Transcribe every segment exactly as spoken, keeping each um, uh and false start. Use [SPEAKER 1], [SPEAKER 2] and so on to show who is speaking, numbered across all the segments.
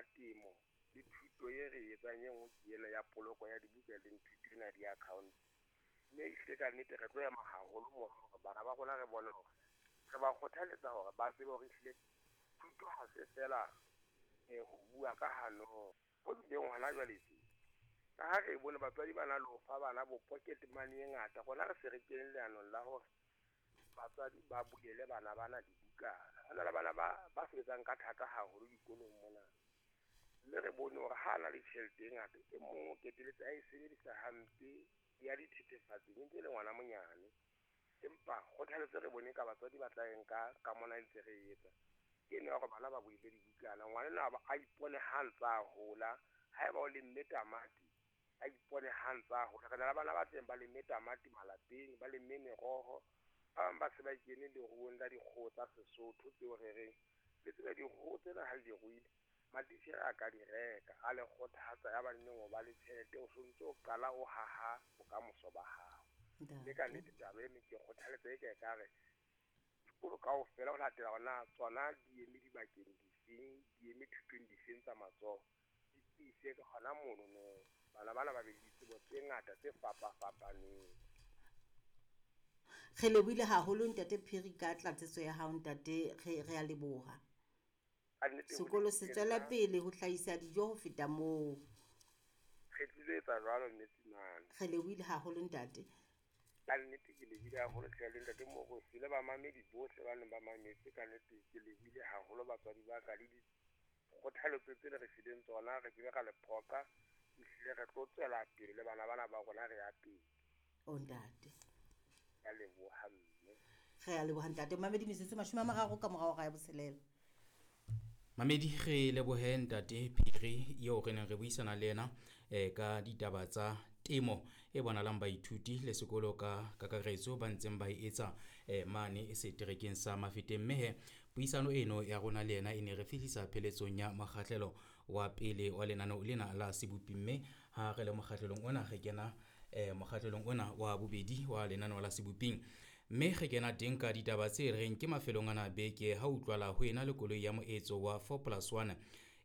[SPEAKER 1] ya temo le thuto e re etsang e nngwe ke ena ya poloko ya dibuka le thuto ena ya di-account. Mme ehlile ka nnete re tlo ema haholo moo hore bana ba rona re bone hore re ba kgothaletsa hore ba tsebe hore ehlile thuto ha se feela ho bua ka hanong. Ho bileng hona jwale tje, ka ha re bone batswadi ba na le ho fa bana bo pocket money e ngata, rona re se re kene leanong la hore batswadi ba bulele bana bana dibukana. Ho na le bana ba ba sebetsang ka thata haholo dikolong mona. Mme re bone hore ha na le tjhelete e ngata, e mong o qetelletse a e sebedisa hampe ya dithethefatsi e ntse e le ngwana monyane. Empa kgothaletso re bone ka batswadi ba tla e nka ka mona ntse re etsa ke ena ya hore bana ba bulele dibukana. Ngwana enwa a ipone ha ntsa a hola, haeba o lemme tamati a ipone ha ntsa a hola. Re na le bana ba teng ba lemme tamati malapeng, ba lemme meroho. Ba bang ba se ba kene leruong la dikgoho tsa Sesotho tseo re reng le tsebe dikgoho tsena ha le di ruile, matitjhere a ka di reka, a le kgothatsa ya ba neng o ba le tjhelete, o sontso o qala o haha bokamoso ba hao. Mme ka nnete taba eno ke kgothaletsa e ka ekare dikolo kaofela ho latela hore na tsona di eme dibakeng difeng, di eme thutong difeng tsa matsoho, di tiise ka hona mono no bana bana ba be le ditsebo tse ngata tse fapafapaneng.
[SPEAKER 2] Re lebohile haholo Ntate Phiri ka tlatsetso ya hao ntate, re re a leboha. Sekolo se tswela pele ho hlahisa dijo ho feta moo.
[SPEAKER 1] Re tlilo etsa jwalo mme Tsimane.
[SPEAKER 2] Re lebohile haholo ntate.
[SPEAKER 1] Ka nnete ke lebohile haholo hle le ntate Moruti le bamamedi bohle ba neng ba mametse, ka nnete ke lebohile haholo batswadi ba ka le dikgothaletso tse le re fileng tsona, re kile ra le phoqa, ehlile re tlo tswela pele le bana bana ba rona re ya pele.
[SPEAKER 2] O ntate.
[SPEAKER 1] Ka leboha mme.
[SPEAKER 2] Re a leboha ntate. Mamedi metsotso mashome a mararo ka morao hora ya botshelela.
[SPEAKER 3] Mamedi re lebohe Ntate Phiri eo re neng re buisana le yena eh, ka ditaba tsa temo e bonalang baithuti le sekolo ka kakaretso ba ntseng ba e etsa eh, mane seterekeng sa Mafeteng. Mme he puisano eno ya rona le yena e ne re fihlisa pheletsong ya mokgahlelo wa pele wa lenaneo lena la Sebopi. Mme ha re le mokgahlelong ona re kena eh, mokgahlelong ona wa bobedi wa lenaneo la Seboping. Mme re kena teng ka ditaba tse reng ke mafelong ana beke ha utlwala ho ena le koloi ya moetso wa four plus one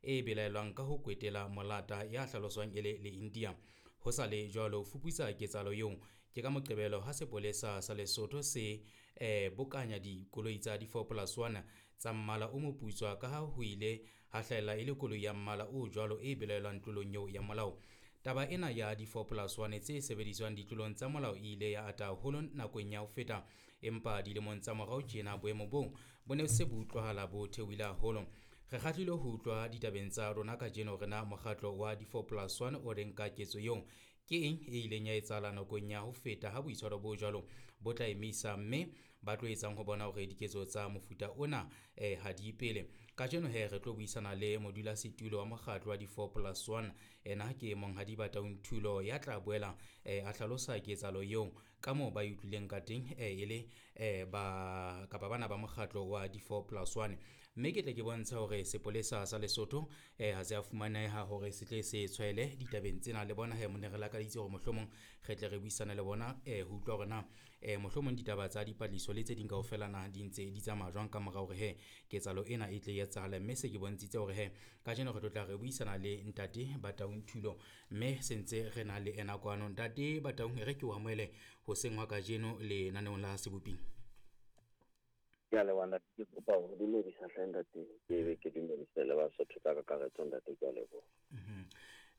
[SPEAKER 3] e belaelwang ka ho kwetela molata ya hlaloswang e le le India. Ho sa le jwalo fuputsa ketsahalo eo ke ka Moqebelo ha sepolesa sa Lesotho se eh, bokanya dikoloi tsa di four plus one tsa mmala o moputswa ka ha ho ile ha hlahella e le koloi ya mmala o jwalo e belaelwang tlolong eo ya molao. Taba ena ya di four plus one tse sebediswang ditlolong tsa molao e ile ya ata haholo nakong ya ho feta, empa dilemong tsa morao tjena boemo boo bo ne se bo utlwahala bo theohile haholo. Re kgahlilwe ho utlwa ditabeng tsa rona kajeno hore na mokgatlo wa di four plus one o reng ka ketso eo, ke eng e ileng ya etsahala nakong ya ho feta ha boitshwaro bo jwalo bo tla emisa, mme ba tlo etsang ho bona hore diketso tsa mofuta ona eh, ha di pele. Kajeno he re tlo buisana le modulasetulo wa mokgatlo wa di four plus one, ena ke Monghadi Bataung Thulo ya tla boela eh, a hlalosa ketsahalo eo ka moo ba e utlwileng ka teng eh, e le eh, ba kapa bana ba mokgatlo wa di four plus one. Mme ke tle ke bontsha hore sepolesa sa Lesotho eh, ha se a fumaneha hore se tle se tshwaele ditabeng tsena. Le bona he mone re lakaditse hore mohlomong re tle re buisane le bona eh, ho utlwa hore na eh, mohlomong ditaba tsa dipatlisiso le tse ding kaofela na di ntse di tsamaya jwang ka mora hore he ketsahalo ena e tle e etsahale. Mme se ke bontshitse hore he kajeno re tlo tla re buisana le Ntate Bataung Thulo, mme se ntse re na le ena kwano. Ntate Bataung, re ke o amohele hoseng hwa kajeno lenaneong la Seboping.
[SPEAKER 4] Ke a leboha ntate, ke kopa ho dumedisa hle ntate, ke be ke dumedise le Basotho ka kakaretso ntate, ke a leboha.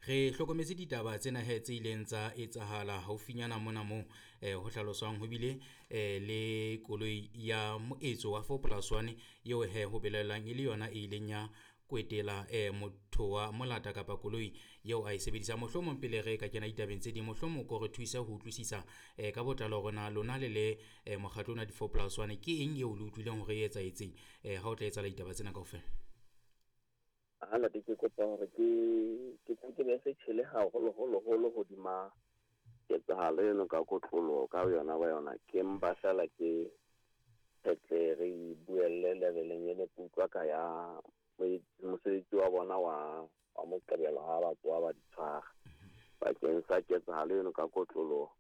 [SPEAKER 3] Re hlokometse ditaba tsena he tse ileng tsa etsahala haufinyana mona moo eh, ho hlaloswang ho bile eh, le koloi ya moetso wa four plus one eo he ho belaelwang e le yona e ileng ya kwetela eh, motho wa molata kapa koloi eo a e sebedisang. Mohlomong pele re ka kena ditabeng tse ding, mohlomong ko re thusa ho utlwisisa eh, ka botlalo hore na lona le le eh, mokgatlo ona di four plus one ke eng eo le utlwileng hore e etsahetseng eh, ha o tla etsahala ditaba tsena kaofela.
[SPEAKER 4] Ha ntate, ke kopa hore ke ke ke be se tjhele haholo holo holo hodima ketsahalo eno ka kotloloho ka yona ba yona. Ke mpa feela ke tle re buelle leveleng ene ke utlwa ka ya mosebetsi wa bona wa wa Moqebelo ha ba tsoha ba di tshwara bakeng sa ketsahalo eno ka kotloloho.